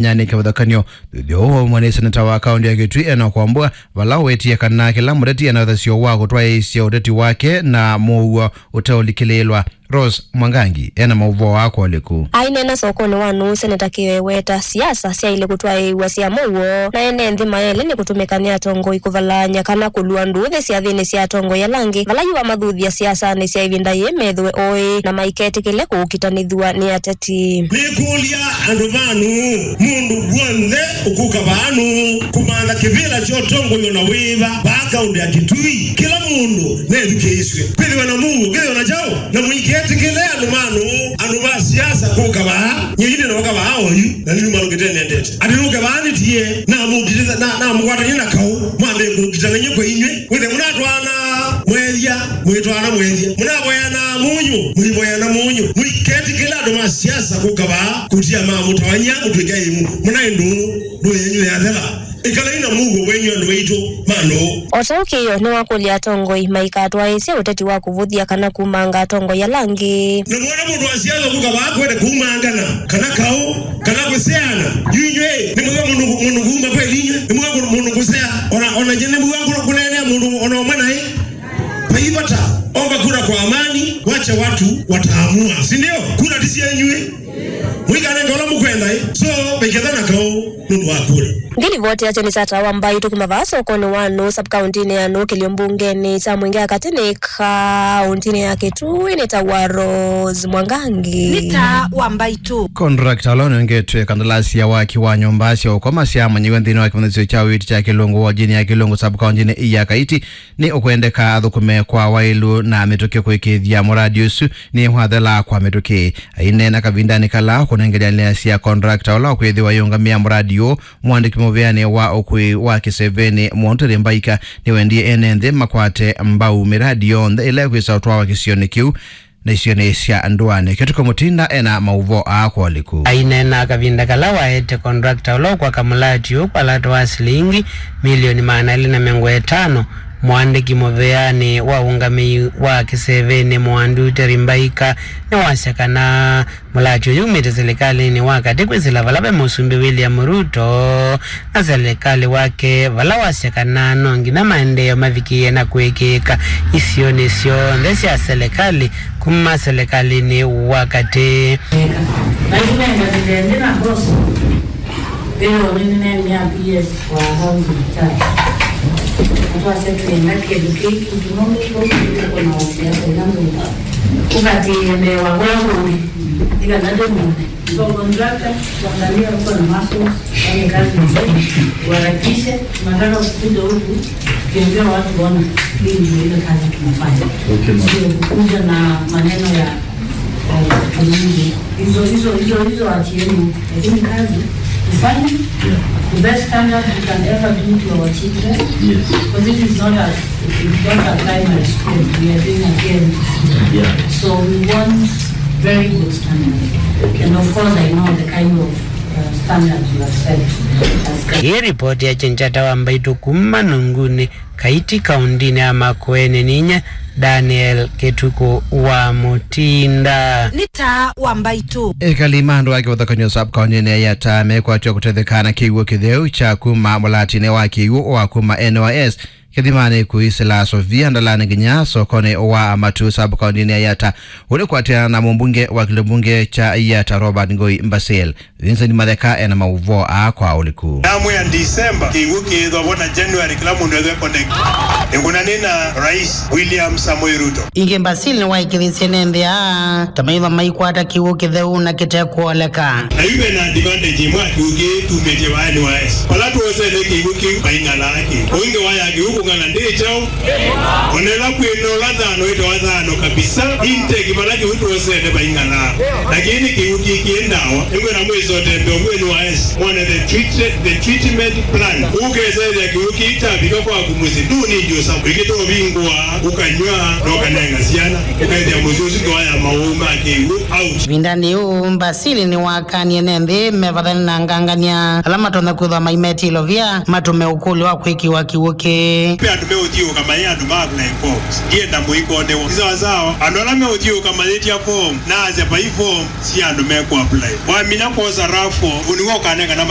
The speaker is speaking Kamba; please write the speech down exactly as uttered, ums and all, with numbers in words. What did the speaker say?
Nyanĩke mũthakanio. Thutha ũũ waumwa nĩ seneta wa kaũntĩ ya Kitui Enock Wambua, vala wetie kana kĩla mũteti ena ũthasyo wa kũtwaĩĩsya ũteti wake na mũuo ũteũlikĩlĩĩlwa. Rose Mwangangi ena maũvoo aa kwa ũliku. Aineena sokonĩ wa nũũ, Seneta Kĩo eweta siasa syaĩle kũtwaĩĩw'a sya mũuo, na ene nthĩ mayaĩle nĩ kũtũmĩka nĩ atongoi kũvalaany'a kana kũlua ndũũthĩ syathĩnĩ sya atongoi ala angĩ vala yu amathuthya siasanĩ sya ĩvinda yĩĩ methĩwe oĩ na maiketĩkĩle kũũkitanĩthw'a nĩ ateti. Nĩkũlya andũ ma nũũ, mũndũ w'onthe ũkũka vaa nũũ, kũmantha kĩvĩla kya ũtongoi o na wĩva vaa kaũntĩ ya Kitui, kĩla mũndũ nethukĩĩsw'e. Kwĩthĩwa na mũuo, kwĩthĩwa na kyaũ, na mũiketĩkĩle andũ ma nũũ, andũ ma siasa kũka vaa. Nyie yu ndĩna ũka vaa oyu, na nĩnyu malũkĩte nendete. Atĩ nũke vaa nĩtie, namũkitĩtha-, na, namũkwatany'e na kaũ, mwambe kũkitana nyie kwa inyuĩ. Wĩthĩa mũnatwaana mwethya, mũitwaana mwethya. Mũnavoyana mũnyũ, mũivoyana mũnyũ. Mũiketĩkĩle andũ ma siasa kũka vaa, kũtia ma mũtawany'a mũtw'ĩka ĩmũ. Mũnaĩ ndũũ, ndũũ yenyu yathela. Ĩkalai na mũuo wenyu andũ aitũ ma nũũ. O ta ũu Kĩo nĩwakũlya atongoi maikatwaĩĩsye ũteti wa kũvũthya kana kumanga atongoi ala angĩ. Na mwona mũndũ wa siasa kũka vaa kwenda kumangana, kana kaũ, kana kũseana. Yu inyuĩ, nĩ mwĩwa mũndũ, mũndũ kuma kweli inyuĩ? Nĩ mwĩwa mũndũ kũsea? Ona, ona nyie nĩ mwĩwa kũneenea mũndũ ona ũmwe naĩ? Vai vata, omba kura kwa amani, wacha watu wataamua, si ndio? Kura ti syenyu ĩ. Mũikanenge ũla mũkwenda ĩ. So, vaiketha na kaũ nũndũ wa kura. Nthĩ livoti ya Jenny Sata wa Mbaitũ kuma vaa sokonĩ wa nũũ, sub-kaũntĩnĩ ya nũũ, kĩlio mbungenĩ kya Mwingi ya katĩ nĩ kaũntĩnĩ ya Kitui, nĩ ta wa Rose Mwangangi. Nĩ ta wa Mbaitũ. Contractor ũla ũnengetwe kandalasi ya waki wa nyũmba sya ũkoma syamanyiw'e nthĩnĩ wa kĩmanyĩsyo kya ũiiti kya Kĩlũngũ wodinĩ ya Kĩlũngũ sub-kaũntĩnĩ ya Kaiti nĩ ũkwendeka athũkũme kwa waĩlu na mĩtũkĩ kũĩkĩĩthya mũradi ũsu nĩ wathela kwa mĩtũkĩ. Aineena kavindanĩ kala kũnengelea ndeto sya contractor ũla ũkwĩthĩwa ayĩũngamĩa mũradi ũũ, mũandĩki mũvĩanĩ wa ũkui wa kĩsevenĩ Mwaunteri Mbaika nĩwendie ene nthĩ makwate mbau mĩradi yonthe ĩla ĩkwĩsa ũtwawa kĩsionĩ kĩu na isionĩ sya ndũanĩ. Kĩtuko Mũtinda ena maũvoo aa kwa ũliku. Aineena kavinda kala waete contractor ũla ũkwaka mũlati ũũ kwa lato wa silingi milioni maana elĩ na mĩongo ĩtano, mũandĩki mũvĩanĩ wa ũngamĩi wa kĩsevenĩ Mwaunteri Mbaika nĩwasya kana mũlati ũyũ umĩte silikalĩnĩ wa katĩ kwĩsĩla vala ve Mũsumbĩ William Ruto na silikalĩ wake, vala wasya kana no nginya maendeeo mavikĩĩe na kũĩkĩĩka isionĩ syonthe sya silikalĩ kuma silikalĩnĩ wa katĩ. Na ĩu nenganĩle nthĩ na mboso, ĩyo nĩnĩneenea P S wa housing charge. Na twasya twĩenda kĩndũ kĩĩ kĩndũ nũndũ kũu kũu kũna wasiasa ila nthũku. Ũkatĩĩe mbee wa kũla kũngĩ, nĩ kana ndĩmone. So contractor, kuangalia huko na muscles, fanye kazi nzuri, uharakishe. Tunataka kukuja huku, tukiambia watu wana, hii ndio ile kazi tunafanya. Okay, ma'am. Sio kukuja na maneno ya, ya utumizi. Hizo, hizo, hizo, hizo achieni. Lakini kazi tufanye, yeah, the best standard we can ever do to our children. Yes. Because it is not a, it's not a primary school. We are doing a K M T C. Yeah. So we want very good standards. Okay. And of course, I know the kind of, uh, standards you have set as government. Ĩĩ ripoti ya Chenchata wa Mbaitũ kuma Nungunĩ, Kaiti, kaũntĩnĩ ya Makueni, ninyie Daniel Kĩtukũ wa Mũtinda. Nĩ ta wa Mbaitũ. Ekali ma andũ a kĩvathũkany'o sub-kaũntĩnĩ ya Yatta mekwatw'a kũtetheka na kĩw'ũ kĩtheu kya kuma mũlatinĩ wa kĩw'ũ wa kuma N Y S kĩthimanĩ kũisĩla Sofia Ndalani nginya sokonĩ wa Matuu sub-kaũntĩnĩ ya Yatta, ũnĩ kwatĩana na mũmbunge wa kĩlio mbunge kya Yatta Robert Ngoi Mbasil. Vincent Matheka ena maũvoo aa kwa ũliku. Namwĩa December, kĩw'ũ kĩĩthwa vo na January, kĩla mũndũ ethwe connect. Nĩngũnanĩ na Rais William Samoei Ruto. Ĩngĩ Mbasil nĩwaĩkĩĩthĩsye nĩendeaa ta maĩva maikwata kĩw'ũ kĩtheu na kĩte kũoleka. Na yu ve na advantage ĩmwe ya kĩw'ũ kĩĩ tumĩtye va N Y S. Vala twosene kĩw'ũ kĩu vaing'alaa kĩ. Ũingĩ wa ya kĩw'ũ kũng'ala ndĩ kyaũ. Onela kwĩna ũla thano wĩtawa thano kabisa, intake vala kĩw'ũ twosene vaing'alaa. Na kĩĩ nĩ kĩw'ũ kĩkĩendawa. Nĩngwenda mwĩsote mbeo mwenyu wa S, mwone the treat-, the treatment plan. Ũkesethĩa kĩw'ũ kĩu kyavika kwaku mũsyĩ, ndũnĩndĩ ũsama. Wĩkĩte ũvingũa, ũkanyw'a, na ũkanenga syana. Ũkethĩa mũsyĩ ũsu ndwaya maũũ ma kĩw'ũ out. Ĩvindanĩ yĩu, Mbasil nĩwakanie nĩ nthĩ mevathane na ngangania ala matonya kwĩthwa maimetĩĩla Via matũme ũkũlyo wa kwĩkĩwa kĩw'ũ kĩĩ. Ve andũ meũthiũũka mayĩ andũ ma apply forms. Ndienda mũikonewa. Nĩ sawasawa. Andũ ala meũthiũũka mayĩtya form, naasya vai form sya andũ mekũ apply. Wamina kwosa raffle, ũnĩwe ũkanengana